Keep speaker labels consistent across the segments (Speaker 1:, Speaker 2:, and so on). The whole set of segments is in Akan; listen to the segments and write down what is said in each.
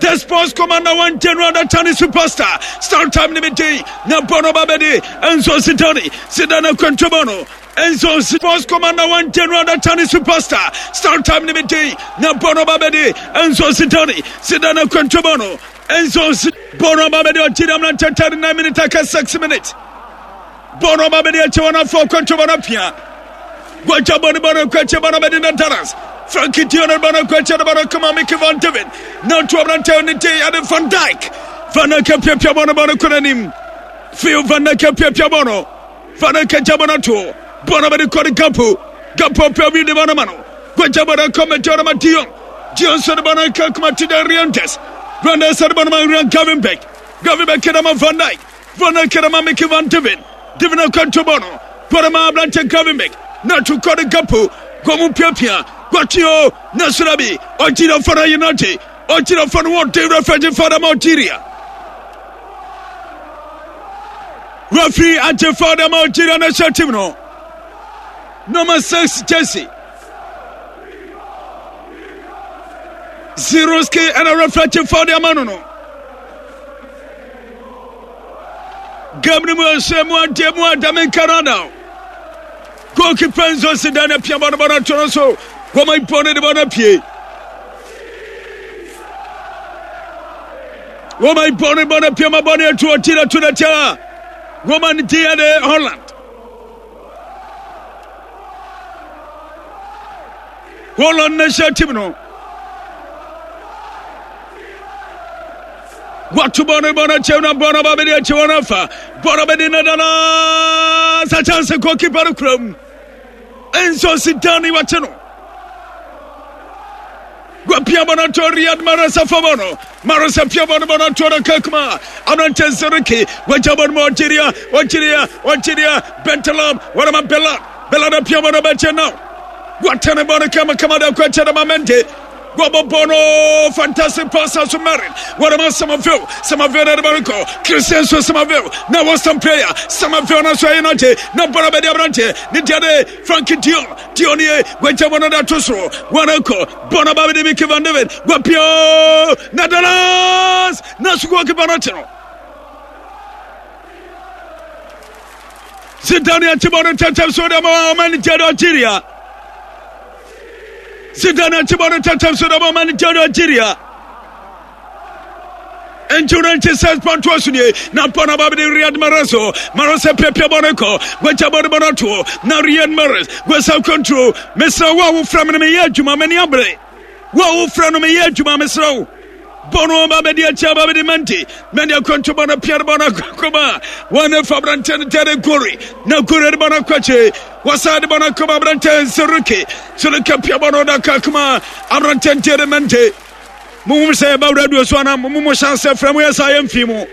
Speaker 1: The sports commander one general the Chinese superstar. Star time ne me na bɔno ba bɛde Enzo Zidane Zidane akwantuo no Enzo Sports commander one general the Chinese superstar. Star time ne me na bɔno ba bɛde Enzo Zidane Zidane akwantuo no Enzo bɔno ba bɛde Algeria mmerante 39 minutes aka 6 minutes. Bɔɔl ɔba bɛde akyɛ wɔn afɔ kɔntɔ bɔ no apia. Gwaja bɔ ne bɔ no kɔ akyɛ bɔ no bɛde na Dallas. Frankie Tion bɔ no kɔ akyɛ no bɔ no kɔma Mickey Van David. Na ɔto aberantɛ ne de ade Van Dijk. Van Dijk apiapia bɔ no bɔ no kɔ n'anim. Phil Van Dijk apiapia bɔ no. Van Dijk agya bɔ no ato. Bɔ no bɛde kɔ ne Gapo. Gapo apia wi de bɔ no ma no. Gwaja bɔ no kɔ mɛgya no ma Dion. Dion nso de bɔ no kɔ kuma Tida Riantes. Riantes de bɔ no ma Rian Gavenbeck. Gavenbeck de ma Van Dijk. Van Kerema Mickey Van Devin Devin akwantu no Kwarema aberante Gravenberg na to kɔ de Gapo Gomu piapia Guatio na Surabi Algeria fana United Algeria fana wɔn de referee fana ma Algeria Referee agye fana ma Algeria national team no number 6 jersey Zeroski ɛna referee agye fana ama no Game no mu ɛhyɛ mu adeɛ mu adame nkarada. Goalkeeper nso si dan na pia bɔ no bɔ no ato no so. Wɔn bɔ no de bɔ no apue. Wɔn bɔ no bɔ no apue ma bɔ no ato ɔti na to na tia. Wɔn ti yɛ de Holland. Holland national team no. Wato bɔ no bɔ no kyɛw na bɔ no ba bɛde akyi wɔn afa bɔ no bɛde nadana sa chance goalkeeper no kura mu nso si dan ne wakye no wapia bɔ no ato Riyad Mahrez afa bɔ no Mahrez apia bɔ no bɔ no ato no kakuma aberante Zeriki wagya bɔ no ma Algeria Algeria Algeria Bentaleb wɔnama Bella Bella no apia bɔ no bɛkyɛ now watene bɔ no kama kama da kɔ akyɛ no ma Mendy Wɔbɔbɔ no fantastic pass aso Marin. Wɔde Somerville. Somerville na ɛde kɔ. Christian so Somerville. Na wɔ some player. Somerville na so ɛyɛ nante. Na bɔlɔ bɛdi aberante. Ne deɛ de Frankie Dion. Dion ye. Wɔgya bɔ no de ato soro. Wɔn kɔ. Bɔ no ba bɛdi Mickey Van David. Wɔpio. Na Dallas. Na sukuu kipa no kye no. Zidane akyi bɔ no ntɛntɛm so de ma ɔman Nigeria Algeria. Zidane akyi bɔ no ntɛntɛm so de ma ɔman Nigeria Algeria. Nti no nti sɛ pantoa so nie na bɔ no aba bɛde Riyad Mahrez o Mahrez apiapia bɔ no kɔ wagya bɔ no bɔ no ato na Riyad Mahrez wasa control mesrɛ wo a wofrɛ me no meyɛ adwuma m'ani abere wo a wofrɛ no meyɛ adwuma mesrɛ wo bɔ no aba bɛde akyi aba bɛde Mendy Mendy akwantu bɔ no pia no bɔ no akɔma wɔn fa aberanteɛ no Derek Gori na Gori de bɔ no akɔkye wɔsan de bɔ no akɔma aberanteɛ Zeruki Zeruki pia bɔ no da kakoma aberanteɛ Derek Mendy Mohum sɛ yɛba radio so anaa mo mo hyɛ asɛ frɛ mo yɛ saa yɛmfii mo.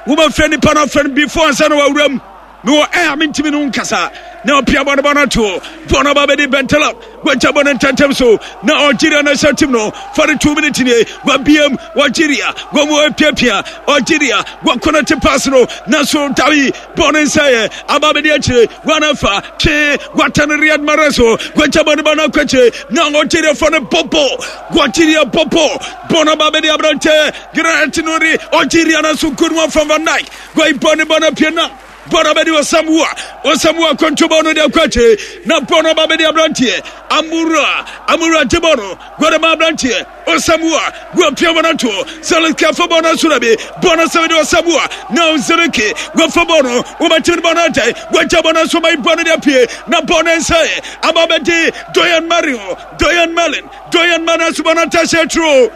Speaker 1: Wobɛfrɛ nipa no afrɛ no before ansa na wawura mu. Mewɔ ɛ a mentumi no nkasa. Na ɔpia bɔ no bɔ no ato. Bɔ no ba bɛdi Bentaleb. Wagya bɔ no ntɛntɛm so. Na Algeria national team no 42 minutes nie. Wabiam Algeria. Wɔn mu apiapia Algeria. Wɔkɔnɛte pass no. Nanso Dawi bɔ no nsɛeɛ. Aba bɛdi akyire. Wɔn afa twe. Wata no Riyad Mahrez o. Wagya bɔ no bɔ no akɔ akyire. Na Algeriafoɔ no bɔbɔ. Algeria bɔbɔ. Bɔ no ba bɛdi aberante. Grant Nuri. Algeria no so good one from Van Dijk. Goi bɔ no bɔ no pie nam. Bɔ no bɛdi Osamuwa. Osamuwa kɔnto bɔ no de akɔ akyire. Na bɔ no ba bɛdi aberanteɛ. Amura. Amura gye bɔ no. Gɔde ma aberanteɛ. Osamuwa. Gua pia bɔ no ato. Zelinski afa bɔ no asora bi. Bɔ no sɛ bɛdi Osamuwa. Na Zelinski. Wafa bɔ no. Wɔbɛtumi bɔ no agyae. Wagya bɔ no so ma bɔ no de apue. Na bɔ no nsɛe. Aba bɛdi Doyan Mario. Doyan Merlin. Doyan Merlin aso bɔ no atahyɛ turo.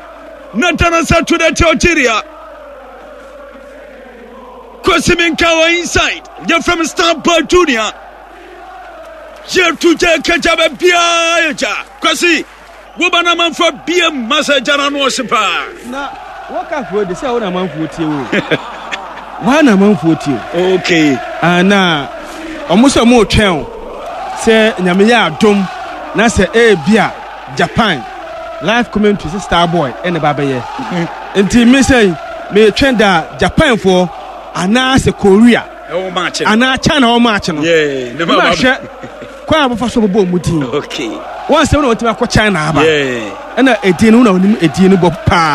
Speaker 1: Na dana nsa to de Algeria. Kwesi Minka wɔ inside. Yɛfrɛ me Star Boy Junior. Yɛtu gya kagya baabiara yɛ gya. Kwesi, woba no amanfoɔ biam ma sɛ gya no ano ɔhye paa.
Speaker 2: Na wɔka foɔ de sɛ wo na amanfoɔ tie wo. Wa na amanfoɔ tie
Speaker 1: wo. Okay.
Speaker 2: Ah, na ɔmo sɛ ɔmo retwɛn o sɛ nyame yɛ adom na sɛ ebi a Japan live commentary sɛ star boy ɛna ba bɛyɛ nti me sɛ metwɛn da Japan foɔ anaasɛ Korea anaa China wɔ match no ne ma hwɛ kwan a wɔfa so bɔbɔ wɔn din wɔn sɛ wɔn na wɔtumi akɔ China aba ɛna edin no wɔn na wɔnim edin no bɔ paa.